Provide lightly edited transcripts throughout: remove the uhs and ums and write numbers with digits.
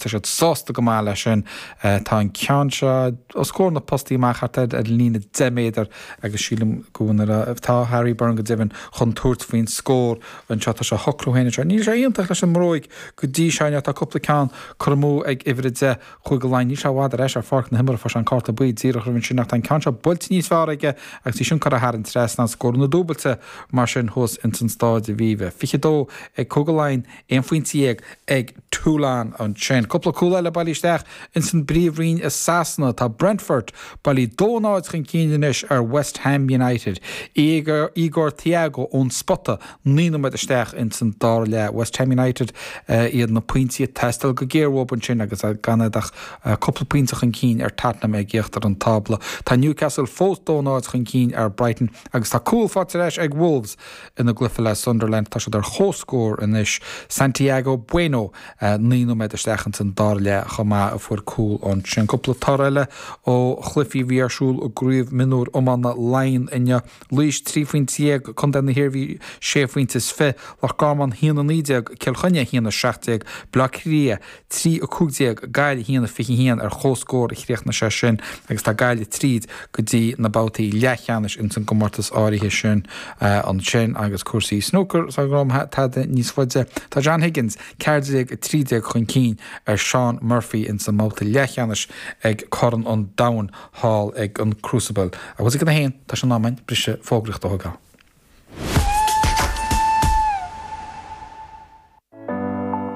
tá siad sásta go maith leis sin. Tá an ceann seo os comhair na postaí amach thart ar an líne 10 méadar agus sílim go bhfuil, tá Harry Byrne go deimhin chun tabhairt faoin scór anseo. Tá sé á shocrú féin anseo. Níl sé iontach leis an mbróig go dtí seo inniu. Tá cúpla ceann curtha amú ag uimhir 10 Chúige Laighean. Níl sé i bhfad ar ais ar pháirc na himeartha. Fuair sé an cárta buí díreach roimh ansin ach tá an ceann seo buailte níos fearr aige agus í sin curtha thar an trasnán. Scóranna dúbailte mar sin thuas ins an Stáid Aviva. 22 ag Cúige Laighean, 11 phointe ag Toulon ansin. Cúpla cúl eile bailithe isteach ins an bPríomhroinn i Sasana. Tá Brentford bailithe 2-0 chun cinn anois ar West Ham United. Igor Thiago ón spota 9 nóiméad isteach ins an dara leath. West Ham United iad na pointí ag teastáil go géar uathu ansin agus gan iad ach cúpla pointe chun cinn ar Tottenham ag íochtar an tábla. Tá Newcastle fós 2-0 chun cinn ar Brighton agus tá cúl faighte ar ais ag Wolves ina gcluiche le Sunderland. Tá siad ar comhscór anois. Santiago Bueno 9 nóiméad isteach ins an dara leath chomh maith a fuair cúl ansin. Cúpla toradh eile ó chluichí a bhí ar siúl i gCraobh Mionúr Iomána Laighean inniu. Laois 13 phointe, Contae na hIarmhí 6 phointe is 20, Loch Garman 1 19, Cill Chainnigh 1 17, Baile Átha Cliath 3 15, Gaillimh 1 21 ar comhscór a chríochnaigh sé sin agus tá Gaillimh tríd go dtí na babhtaí leathcheannais ins an gcomórtas áirithe sin ansin agus cúrsaí snúcair sara ngabhfaidh mé tada níos faide. Tá John Higgins 14 13 chun cinn ar Shaun Murphy ins an mbabhta leathcheannais ag Corn an Domhain thall ag an Crucible. Agus ag a haon, tá sé in am againn briseadh fógraíochta a thógáil.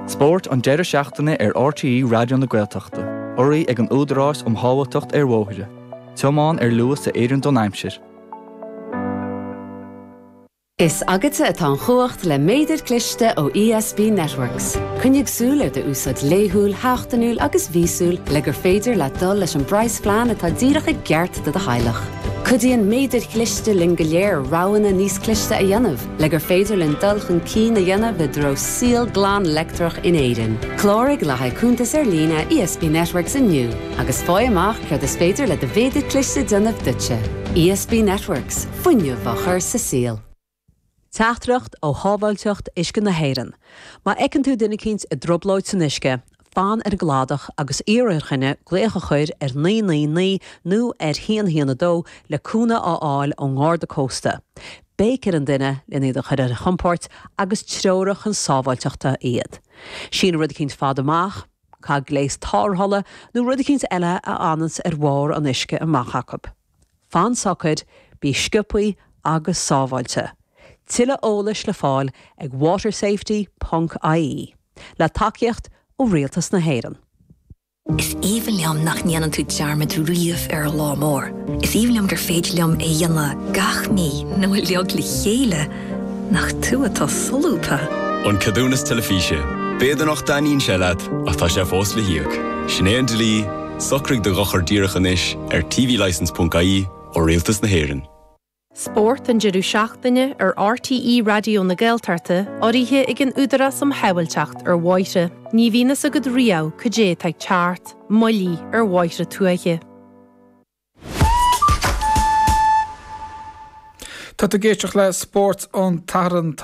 Spórt an deireadh seachtaine ar RTÉ Raidió na Gaeltachta, urraithe ag an Údarás um Shábháilteacht ar Bhóithre. Tiomáin ar luas a oireann don aimsir. Is agatsa atá an chumhacht le méadar cliste ó ESB Networks. Coinnigh súil ar d'úsáid laethúil, sheachtainiúil agus mhíosúil le gur féidir leat dul leis an bpraghasphlean atá díreach i gceart do do theaghlach. Cuidíonn méadair chliste linn go léir roghanna níos cliste a dhéanamh le gur féidir linn dul chun cinn a dhéanamh i dtreo saol glan leictreach in Éirinn. Cláraigh le haghaidh cuntas ar líne ESB Networks inniu agus faigh amach céard is féidir le do mhéadar cliste déanamh duitse. ESB Networks, fuinneamh á chur sa saol. Teachtaireacht ó Shábháilteacht Uisce na hÉireann. Má fheiceann tú duine eicínt i dtrioblóid san uisce, fan ar an gcladach agus iarr ar dhuine glaoch a chur ar 999 nó ar 112 le cúnamh a fháil ón nGarda Cósta. Béic ar an duine len iad a chur ar a gcompord agus treoraigh chun sábháilteachta iad. Sín rud eicínt fada amach, caith gléas tarrthála nó rud eicínt eile a fhananns ar bharr an uisce amach acu. Fan socair, bí sciobthaí agus sábháilte. Tuilleadh eolais le fáil ag watersafety ponc ie. Le tacaíocht ó Rialtas na hÉireann. Is aoibhinn liom nach ndéanann tú dearmad riamh ar an lá mór. Is aoibhinn liom gur féidir liom é a dhéanamh gach mí nó uilig le chéile. Nach tú atá solúbtha! An Ceadúnas Teilifíse. B'fhéidir nach dtaitníonn sé leat, ach tá sé fós le híoc. Sin é an dlí, socraigh do dhochar díreach anois ar tvlicence.ie ó Rialtas na hÉireann. Spórt an deireadh seachtaine ar RTÉ Raidió na Gaeltachta, urraithe ag an Údarás um Shábháilteacht ar Bhóithre. Ní bhíonn fhios agat riamh cad é atá ag teacht, moilligh ar bhóithre tuaithe. Tá tú ag éisteacht le Spórt an tSathairn.